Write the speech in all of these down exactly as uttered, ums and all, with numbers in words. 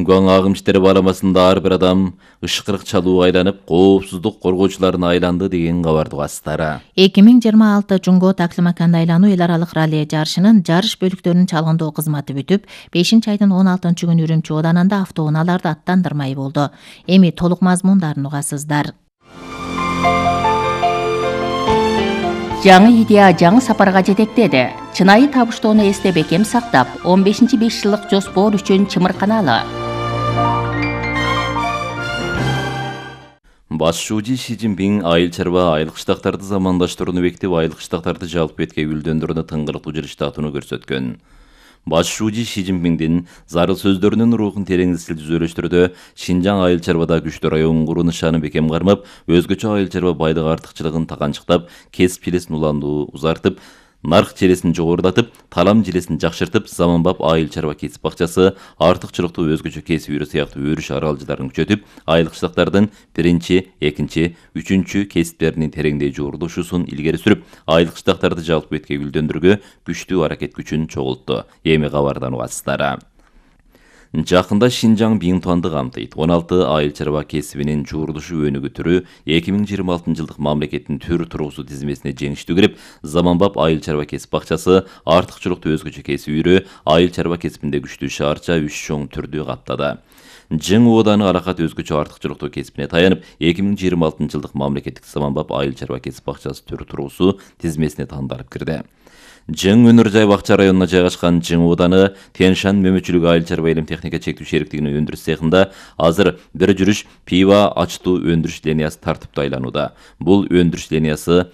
Чыңгуаң агым иштери барамасында ар бир адам ышкырык чалуу айланып, коопсуздук коргоочуларына айланды деген кабарды угасыздар. эки миң жыйырма алты Жунгоо Таклимаканда айлануу эл аралык ралли жарышынын жарыш бөлүктөрүнүн чалгындоо кызматы бүтүп, бешинчи айдын он алтынчы күнү Үрүмчү ооданында автоунааларды аттандырмай болду. Эми толук мазмундарын угасыздар. Жаңы идея жаңы сапарга жетектеди. Чынайы табыштоону эсте бекем сактап, он бешинчи беш жылдык жоспор үчүн чымырканалы. Баш шүүжи Ши Цзиньпин айыл чарба айлык штактарды замандаштырууну бекитип, айлык штактарды жалпы бетке гүлдөндүрүүнү тыңгыртуу жыштатууну көрсөткөн. Баш шүүжи Ши Цзиньпиндин зарыл сөздөрүнүн рухун тереңдетил түзөлүштүрдө Шинжаң айыл чарбада күчтүү район куруу нышаны бекем кармап, өзгөчө айыл чарба байлык артыкчылыгын таганчыктап, кесип желесин уландуу узартып, нарк желесин жогорулатып, талам желесин жакшыртып, заманбап айыл чарба кесип бакчасы, артыкчылыктуу өзгөчө кесип үйрө сыяктуу өрүш аралжыларын күчөтүп, айлык штактардын биринчи, экинчи, үчүнчү кесиптеринин тереңдей жуурулушусун илгери сүрүп, айлык штактарды жалпы бетке гүлдөндүрүүгө күчтүү аракет күчүн чогултту. Эми кабардан угасыздар. Жакында Шинжаң Биңтуанды камтыйт. он алты айыл чарба кесибинин жуурулушу өнүгүү түрү эки миң жыйырма алтынчы жылдык мамлекеттин төр туруусу тизмесине жеңиштүү кирип, заманбап айыл чарба кесип бакчасы, артыкчылыктуу өзгөчө кесип үйрө, айыл чарба кесибинде күчтүү шаарча үч чоң түрдү каптады. Жың ооданы аракат өзгөчө артыкчылыктуу кесибине таянып, эки миң жыйырма алтынчы жылдык мамлекеттик заманбап айыл чарба кесип бакчасы төр туруусу тизмесине тандалып кирди. Жың Өнөр жай бакча районуна жайгашкан Жың ооданы Тяньшань мөмөчүлүк айыл чарба илим техника чектүү шериктигинин өндүрүш цехинда азыр бир жүрүш пива ачтуу өндүрүш линиясы тартыптуу айланууда. Бул өндүрүш линиясы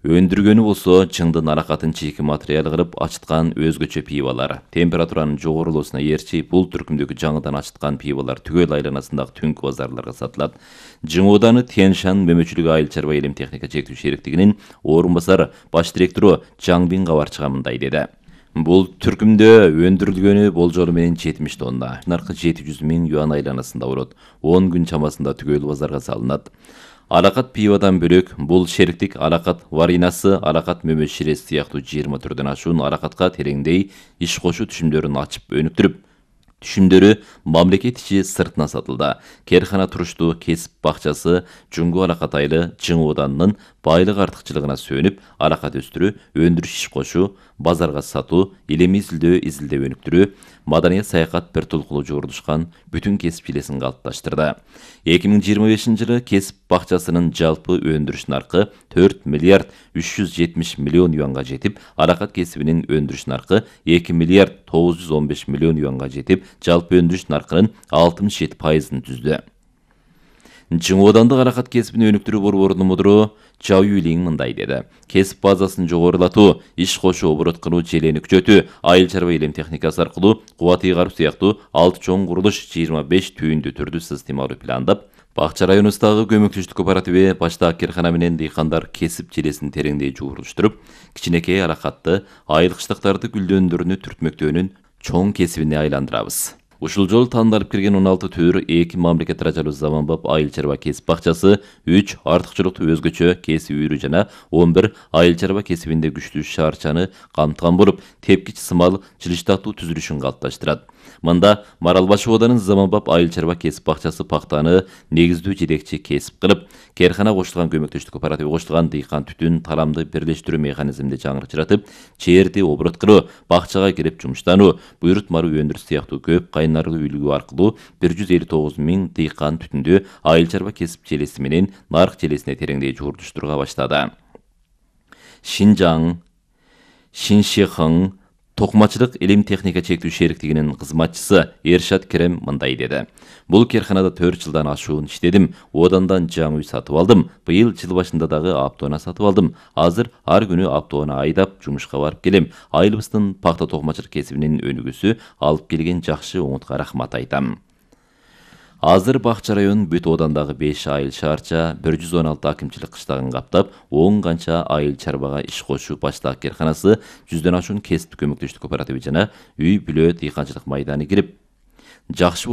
өндүргөнү болсо жыңдын аракатын чийки материал кылып ачыткан өзгөчө пивалар. Температуранын жогорулуусуна ээрчи бул түркүмдөгү жаңыдан ачыткан пивалар түгөл айланасындагы түнкү базарларга сатылат. Жың ооданы Тяньшань мөмөчүлүк айыл чарба илим техника чектүү шериктигинин орун басар баш директору Жаңбин кабарчыга мындай деди. Бул түркүмдө өндүрүлгөнү болжолу менен жетимиш тонна. Наркы жети жүз миң юан айланасында болот. он күн чамасында түгөл базарга салынат. Алакат пивадан бөлөк бул шериктик алакат варинасы, алакат мөмө ширesi сыяктуу жыйырма түрдөн ашуун алакатка тереңдей иш кошуу түшүмдөрүн ачып өнүктүрүп, түшүмдөрү мамлекет ичи сыртына сатылды. Керхана туруштуу кесип бакчасы Жунгу алакат айылы Жың ооданынын байлык артыкчылыгына сүйөнүп, алакат өстүрүү, өндүрүш иш кошуу, базарга сатуу, илимий изилдөө, изилдөө өнүктүрүү, маданият саякат бир толкулуу жуурулушкан бүтүн кесип желесин калыпташтырды. эки миң жыйырма бешинчи жылы кесип бакчасынын жалпы өндүрүш наркы төрт миллиард үч жүз жетимиш миллион юанга жетип, алакат кесибинин өндүрүш наркы эки миллиард тогуз жүз он беш миллион юанга жетип, жалпы өндүрүш наркынын алтымыш жети пайызын түздү. Жың оодандык алакат кесибин өнүктүрүү борборунун мудуру Чао Юйлиң мындай деди. Кесип базасын жогорулатуу, иш кошуу, оборот кылуу, желени күчөтүү, айыл чарба илим техникасы аркылуу кубат ыйгаруу сыяктуу алты чоң курулуш жыйырма беш түйүндүү түрдүү системалуу пландап, Бакча районубуздагы көмөктөштүк кооперативи баштаак керкана менен дыйкандар кесип желесин тереңдей жуурулуштуруп, кичинекей алакатты айылык штактарды гүлдөндүрүүнү түртмөктөөнүн чоң кесибине айландырабыз. Ушул жолу тандалып кирген он алты төр, эки мамлекет даражалуу заманбап айыл чарба кесип бакчасы, үч артыкчылыктуу өзгөчө кесип үйрүү жана он бир айыл чарба кесибинде күчтүү шаарчаны камтыган болуп, тепкич сымал жылыштатуу түзүлүшүн калыпташтырат. Мында Маралбаш ооданын заманбап айыл чарба кесип бакчасы пактаны негиздүү жетекчи кесип кылып, керкана кошулган көмөктөштүк кооперативи кошулган дыйкан түтүн тарамды бирлештирүү механизминде жаңырчыратып, чээрди оборот кылуу, бакчага кирип жумуштануу, буйрут маруу өндүрүш сыяктуу көп кайнарлуу үлгү аркылуу бир жүз элүү тогуз миң дыйкан түтүндү айыл чарба кесип желеси менен нарк желесине тереңдей жуурулуштурууга баштады. Шинжаң, Шиншихың токумачылык илим техника чектүү шериктигинин кызматчысы Эршат Керем мындай деди. Бул керканада төрт жылдан ашуун иштедим. Оодандан жаңы үй сатып алдым. Быйыл жыл башында дагы автоунаа сатып алдым. Азыр ар күнү автоунаа айдап жумушка барып келем. Айылыбыздын пакта токумачылык кесибинин өнүгүүсү алып келген жакшы оңутка рахмат айтам. Азыр Бакча район бүт оодандагы беш айыл шаарча, бир жүз он алты акимчилик кыштагын каптап, он канча айыл чарбага иш кошуу баштаак керканасы, жүздөн ашуун кесип көмөктөштүк кооперативи жана үй бүлө дыйканчылык майданы кирип, жакшы